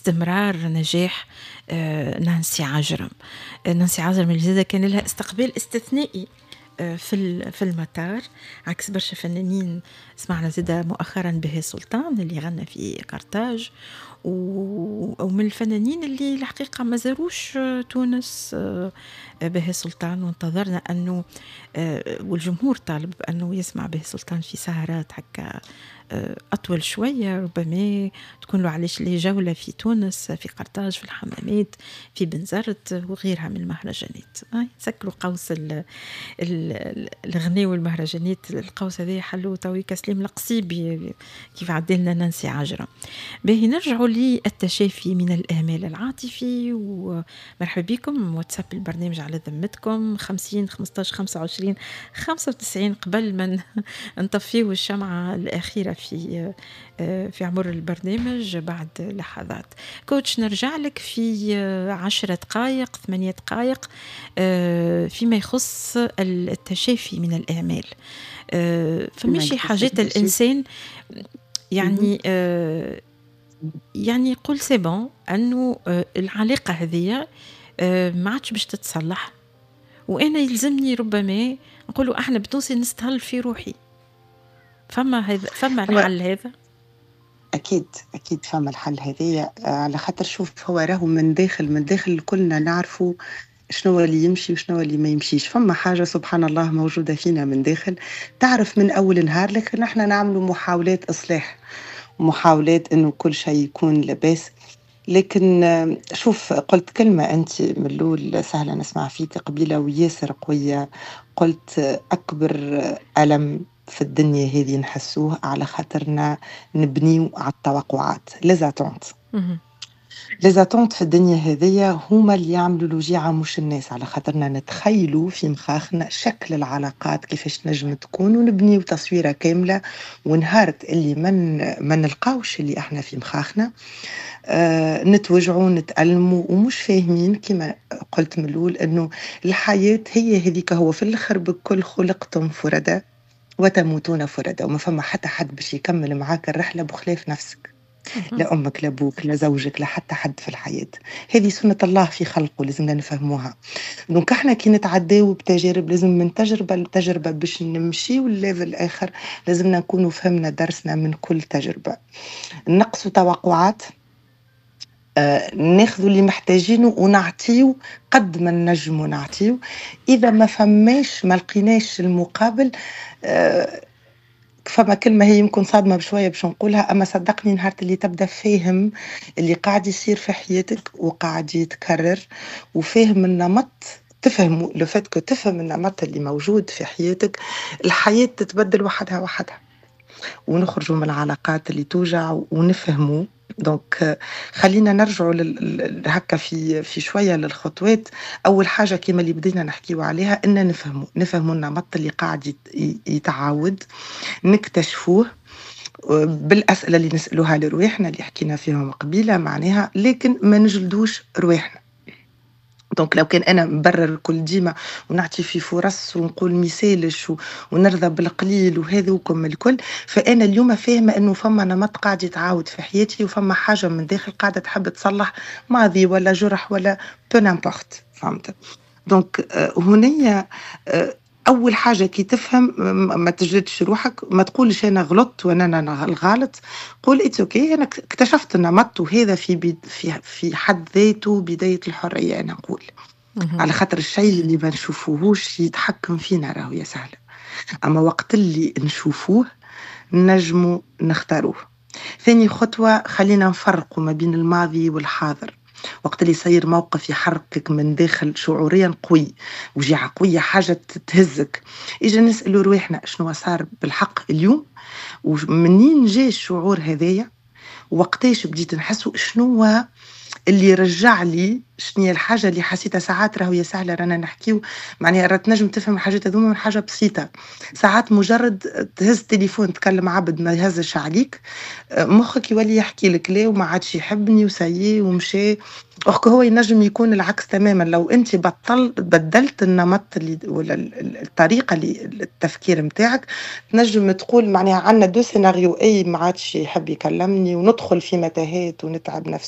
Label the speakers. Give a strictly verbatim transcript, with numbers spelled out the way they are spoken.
Speaker 1: استمرار نجاح آه، نانسي عجرم. آه، نانسي عجرم اللي زاد كان لها استقبال استثنائي آه، في في المطار، عكس برشا فنانين. سمعنا زاد مؤخرا بهاء سلطان اللي غنى في قرطاج، ومن الفنانين اللي الحقيقة ما زاروش تونس بهاء سلطان، وانتظرنا أنه والجمهور طالب أنه يسمع بهاء سلطان في سهرات هكا أطول شوية، ربما تكون له علاش لي جولة في تونس، في قرطاج، في الحمامات، في بنزرت وغيرها من المهرجانات. سكروا قوس الغناء والمهرجانات، القوس هذا حلو تويكا سليم القصيبي كيف عدلنا نانسي عجرم. باهي، نرجعوا للتشافي من الإهمال العاطفي، ومرحبا بكم. واتساب البرنامج على ذمتكم خمسين خمسطاش خمسة وعشرين خمسة وتسعين. قبل ما نطفيو الشمعة الأخيرة في في عمر البرنامج بعد لحظات، coach نرجع لك في عشرة دقائق، ثمانية دقائق، فيما يخص التشافي من الإهمال. فماشي حاجات الإنسان يعني يعني يقول c'est bon انه العلاقة هذه ما عادش باش تتصلح، وانا يلزمني ربما نقولوا احنا بالتونسي نستهل في روحي. فما هذا، فما الحل هذا؟
Speaker 2: أكيد أكيد فما الحل هذايا، على خاطر شوف، هو راهو من داخل من داخل كلنا نعرفوا شنو اللي يمشي وشنو اللي ما يمشيش. فما حاجة سبحان الله موجودة فينا من داخل تعرف من أول نهار، لكن احنا نعملوا محاولات إصلاح، محاولات إنه كل شيء يكون لاباس. لكن شوف، قلت كلمة أنت من الأول سهلة، نسمع فيك قبيلة وياسر قوية، قلت أكبر ألم في الدنيا هذه نحسوه على خاطرنا نبنيو على التوقعات، les attentes. les attentes في الدنيا هذيا هما اللي يعملوا الوجيعة مش الناس، على خاطرنا نتخيلوا في مخاخنا شكل العلاقات كيفاش نجم تكون ونبنيو تصويرة كاملة، ونهارت اللي من ما نلقاوش اللي احنا في مخاخنا آه نتوجعوا، نتألموا، ومش فاهمين كما قلت من الأول أنه الحياة هي هذيك. هو في الآخر بكل خلقتم فرادى وتموتون فرادى، وما فما حتى حد باش يكمل معاك الرحلة بخلاف نفسك، لا أمك، لا أبوك، لا زوجك، لا حتى حد في الحياة. هذه سنة الله في خلقه، لازمنا نفهموها. donc احنا كي نتعداو بتجارب، لازم من تجربة لتجربة باش نمشيو لل level الآخر، لازمنا نكونوا فهمنا درسنا من كل تجربة، نقصوا توقعات، آه، ناخذوا اللي محتاجينه ونعطيو قد ما نجموا نعطيو. اذا ما فماش، ما لقيناش المقابل، آه، فما كلمة هي يمكن صادمة بشوية باش نقولها، أما صدقني نهار اللي تبدأ فاهم اللي قاعد يصير في حياتك وقاعد يتكرر وفاهم النمط، تفهم le fait que تفهم النمط اللي موجود في حياتك، الحياة تتبدل وحدها وحدها، ونخرجوا من العلاقات اللي توجع ونفهموا. donc خلينا نرجعوا هكا في في شوية للخطوات. اول حاجة كما اللي بدينا نحكيو عليها ان نفهموا نفهموا النمط اللي قاعد يتعاود، نكتشفوه بالاسئلة اللي نسالوها لرواحنا اللي حكينا فيهم قبيلة معناها، لكن ما نجلدوش رواحنا. donc لو كان انا نبرر كل ديما ونعطي في فرص ونقول ميسالش ونرضى بالقليل وهذوكم الكل، فانا اليوم فاهمه انه فما نمط قاعد يتعاود في حياتي وفما حاجة من داخل قاعدة تحب تصلح ماضي ولا جرح ولا peu n'importe، فهمت؟ donc هنيا آه، اول حاجة كي تفهم ما تجلدش روحك، ما تقولش انا غلطت وانا انا الغلط. قول it's okay، انا اكتشفت النمط، وهذا في في في حد ذاته بداية الحريه. انا نقول على خاطر الشيء اللي ما نشوفوهوش يتحكم فينا راهو يا سهله، اما وقت اللي نشوفوه نجمو نختاروه. ثاني خطوه، خلينا نفرقوا ما بين الماضي والحاضر. وقت اللي يصير موقف يحركك من داخل شعوريا قوي، وجيعة قوية، حاجة تهزك، إجا نسألوا رواحنا شنو صار بالحق اليوم، ومنين جاي الشعور هذايا، وقتاش بديت نحسه، شنو اللي رجع لي، شنو هي الحاجة اللي حسيتها. ساعات راهو يا سهلة رانا نحكيو معناها راه تنجم تفهم الحاجات هذوما من حاجة بسيطه. ساعات مجرد تهز تليفون تكلم عبد ما يهزش عليك، مخك يولي يحكي لك لا وما عادش يحبني و ça y est ومشى. or que هو ينجم يكون العكس تماما، لو انت بطل بدلت النمط اللي ولا الطريقة اللي التفكير نتاعك، تنجم تقول معناها عندنا deux scénarios، اي ما عادش يحب يكلمني وندخل في متاهات ونتعب نفسيا.